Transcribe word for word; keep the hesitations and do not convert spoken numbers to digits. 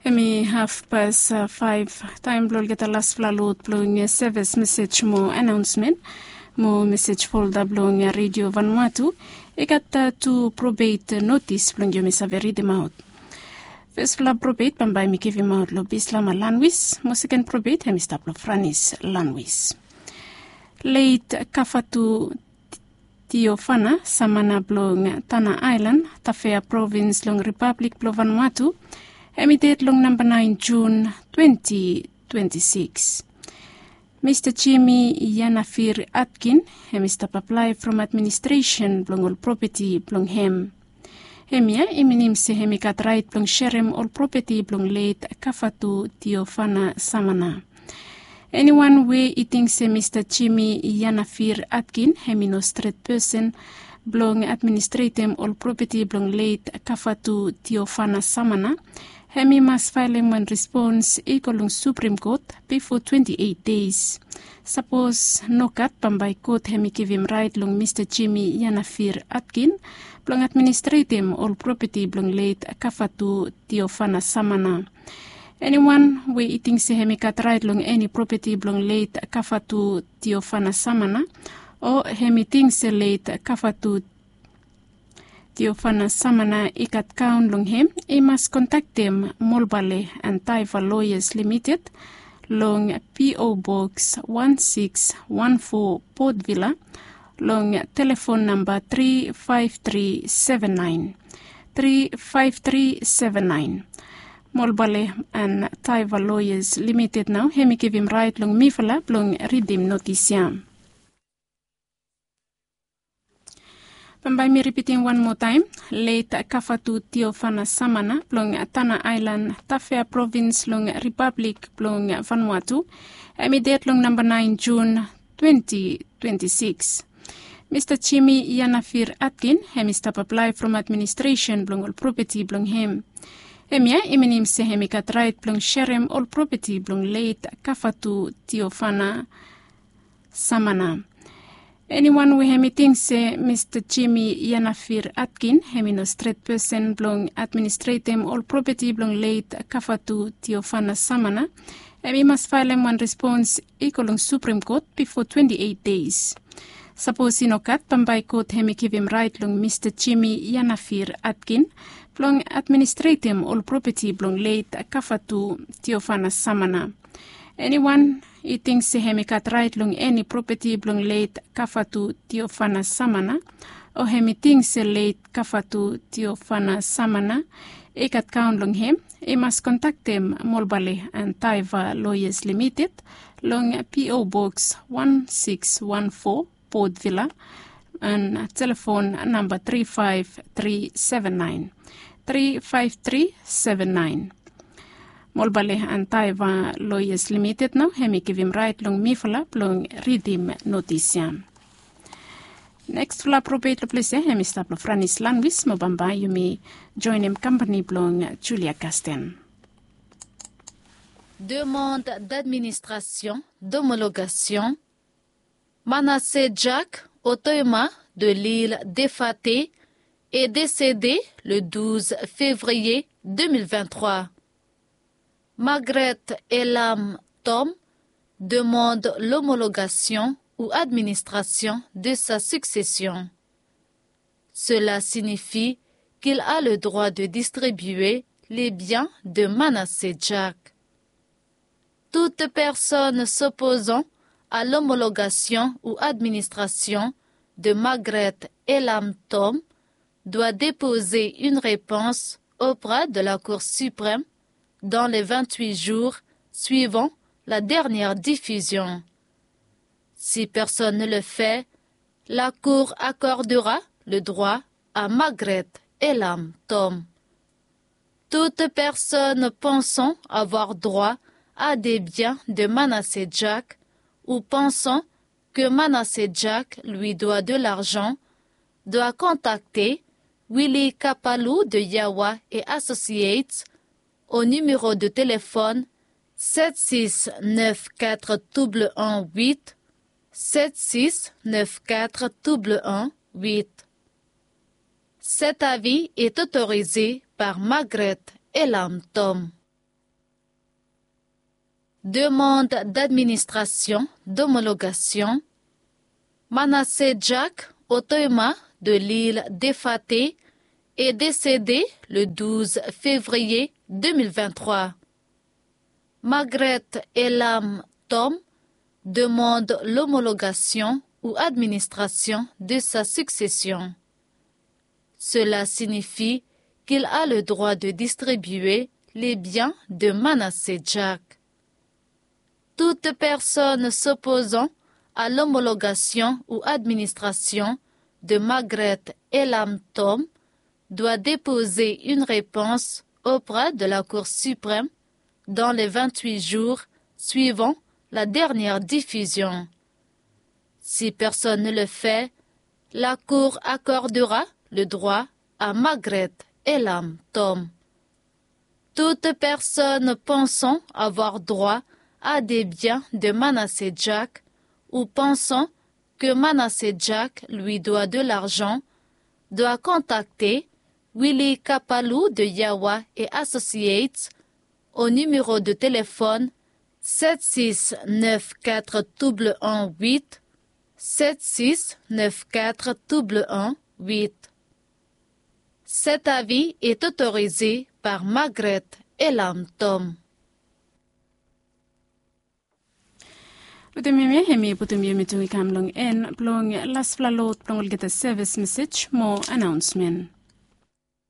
Hemi hafpas faef. Taem blong olgeta lasfala lod blong sevis mesej mo anaonsmen mo mesej folda blong Redio Vanuatu i gat tu probet notis blong yumi save ridimaot. Fesfala probet bambae mi givimaot long Bislama Lanwis, mo seken probet hemi stap long Franis Lanwis. Leit Kafatu Tiofana Samana blong Tana Aelan, Tafea Provins long Ripablik blong Vanuatu, hemi ded long namba naen Jun twenti twenti sikis. Mista Jimi Yanafir Atkin hemi stap aplae from administresen blong ol propeti blong hem. Hemia i minim se hemi gat raet blong serem ol propeti blong leit Kafatu Tiofana Samana. Eniwan we i ting se Mista Jimi Yanafir Atkin hemi no stret pesen blong administretem ol propeti blong leit Kafatu Tiofana Samana, hemi mas faelem wan respons i go long Suprem Kot bifo twenti eit deis. Sapos nogat, bambae kot hemi givim raet long Mista Jimi Yanafir Atkin blong administretem ol propeti blong leit Kafatu Tiofana Samana. Eniwan we i ting se hemi gat raet long eni propeti blong leit Kafatu Tiofana Samana, o hemi ting se leit Kafatu Tiofana Samana i gat kaon long hem, i mas kontaktem Molbale and Taiva Lawyers Limited long P O Box wan siks wan fo, Port Vila, long telefon namba tri faef tri seven naen, tri faef tri seven naen. Molbale and Taiva Lawyers Limited nao hemi givim raet long mifala blong ridim notis ya. Bambae mi ripitim wan moa taem. Leit Kafatu Tiofana Samana blong Tana Aelan, Tafea Provins long Ripablik blong Vanuatu, hemi ded long namba naen Jun twenti twenti sikis. Mista Jimi Yanafir Atkin hemi stap aplae from administresen blong ol propeti blong hem. Hemia i minim se hemi gat raet blong serem ol propeti blong leit Kafatu Tiofana Samana. Eniwan we hemi ting se Mista Jimi Yanafir Atkin hemi no stret pesen blong administretem ol propeti blong leit Kafatu Tiofana Samana, hemi mas faelem wan respons i go long Suprem Kot bifo twenti eit deis. Sapos i nogat, bambae kot hemi givim raet long Mista Jimi Yanafir Atkin blong administretem ol propeti blong leit Kafatu Tiofana Samana. Eniwan i ting se hemi gat raet long eni propeti blong leit Kafatu Tiofana Samana, o hemi ting se leit Kafatu Tiofana Samana i gat kaon long hem, i mas kontaktem Molbale and Taiva Lawyers Limited long P O Box wan siks wan fo, Port Vila, and telefon namba tri faef tri seven naen, tri faef tri seven naen. Molbale and Taiva Lawyers Limited nao hemi givim raet long mifala blong ridim notis ya. Neksfala probet long ples ya hemi stap long Franis Lanwis, mo bambae yumi joenem kampani blong Julia Kasten. Demande d'administration, d'homologation. Manasseh Jack, Otoima de l'île d'Efate, est décédé le douze février deux mille vingt-trois. Margaret Elam Tom demande l'homologation ou administration de sa succession. Cela signifie qu'il a le droit de distribuer les biens de Manasseh Jack. Toute personne s'opposant à l'homologation ou administration de Margaret Elam Tom doit déposer une réponse auprès de la Cour suprême dans les vingt-huit jours suivant la dernière diffusion. Si personne ne le fait, la Cour accordera le droit à Margaret Elam Tom. Toute personne pensant avoir droit à des biens de Manasseh Jack ou pensant que Manasseh Jack lui doit de l'argent doit contacter Willy Kapalou de Yawa et Associates au numéro de téléphone sept six neuf quatre double un huit, sept six neuf quatre double un huit. Cet avis est autorisé par Margaret Elam Tom. Demande d'administration d'homologation. Manasseh Jack, Otoima de l'île d'Efate, est décédé le douze février deux mille vingt-trois. Margaret Elam Tom demande l'homologation ou administration de sa succession. Cela signifie qu'il a le droit de distribuer les biens de Manasseh Jack. Toute personne s'opposant à l'homologation ou administration de Margaret Elam Tom doit déposer une réponse auprès de la Cour suprême dans les vingt-huit jours suivant la dernière diffusion. Si personne ne le fait, la Cour accordera le droit à Margaret Elam Tom. Toute personne pensant avoir droit à des biens de Manasseh Jack ou pensant que Manasseh Jack lui doit de l'argent doit contacter Willy Kapalou de Yawa et Associates au numéro de téléphone sept six neuf quatre double un huit, sept six neuf quatre double un huit. Cet avis est autorisé par Margaret Elam Tom. Wetem yumi, hemi putum yumi tu i kam long en blong laspela lot blong olgeta sevis mesej mo anaonsmen.